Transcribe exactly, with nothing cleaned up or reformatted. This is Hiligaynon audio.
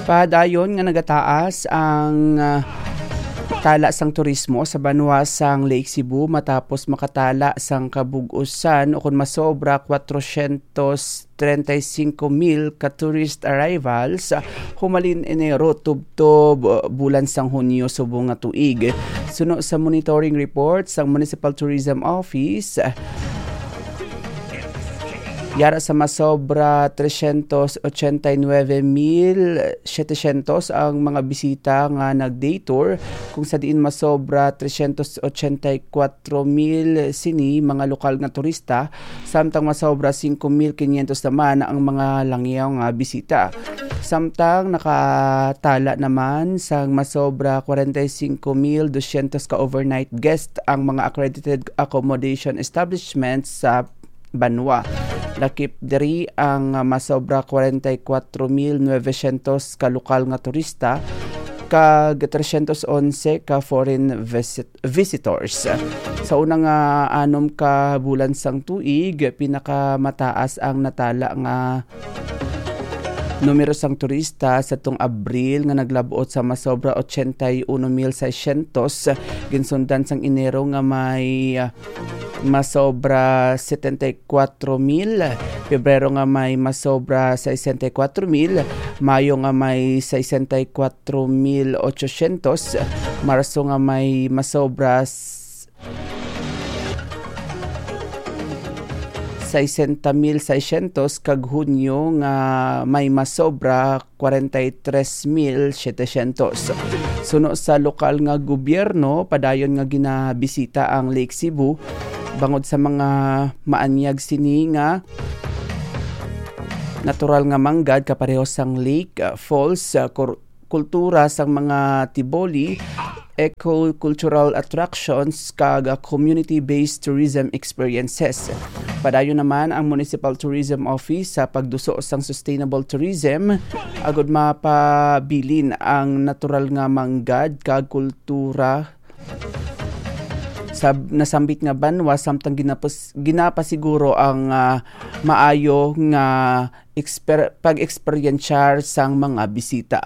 Padayon nga nagataas ang, ah, tala sang turismo sa banwa sang Lake Cebu matapos makatala sang kabug-usan o kon masobra kwatrosyentos treinta y cinco mil ka tourist arrivals, ah, humalin Enero tubtob, ah, bulan sang Hunyo subong nga tuig. Suno sa monitoring report sang Municipal Tourism Office, ah, yara sa masobra tresyentos ochenta y nuebe mil setecientos ang mga bisita nga nag-day tour, kung sa diin masobra tresyentos ochenta y kuwatro mil sini mga lokal nga turista, samtang masobra singko mil kinyentos naman ang mga langyaw nga bisita. Samtang nakatala naman sang masobra kwarenta y singko mil dosyentos ka overnight guest ang mga accredited accommodation establishments sa banwa. Lakip diri ang masobra kwarenta y kuwatro mil nobesyentos ka lokal nga turista kag tresyentos onse ka foreign visit-, visitors. Sa una nga anom ka bulan sang tuig, pinakamataas ang natala nga numero sang turista sa tong Abril nga naglab-ot sa masobra ochenta y uno mil seiscientos, ginsundan sang Enero nga may, ah, masobra setenta y kuwatro mil, Pebrero nga may masobra sesenta y kuwatro mil, Mayo nga may sesenta y kuwatro mil ochosyentos, Marso nga may masobra s-, sesenta mil seiscientos, kag Hunyo nga may masobra kwarenta y tres mil setecientos. Suno sa lokal nga gobyerno, padayon nga ginabisita ang Lake Cebu bangod sa mga maanyag sini nga natural nga manggad kapareho sang lake, uh, falls, uh, kur-, kultura sang mga tiboli, eco-cultural attractions, kag, uh, community-based tourism experiences. Padayon naman ang Municipal Tourism Office sa pagduso sang sustainable tourism agud mapabilin ang natural nga manggad kag kultura sa nasambit nga banwa, samtang ginapos-, ginapasiguro ang, ah, maayo nga eksper-, pag-eksperyensyar sang mga bisita.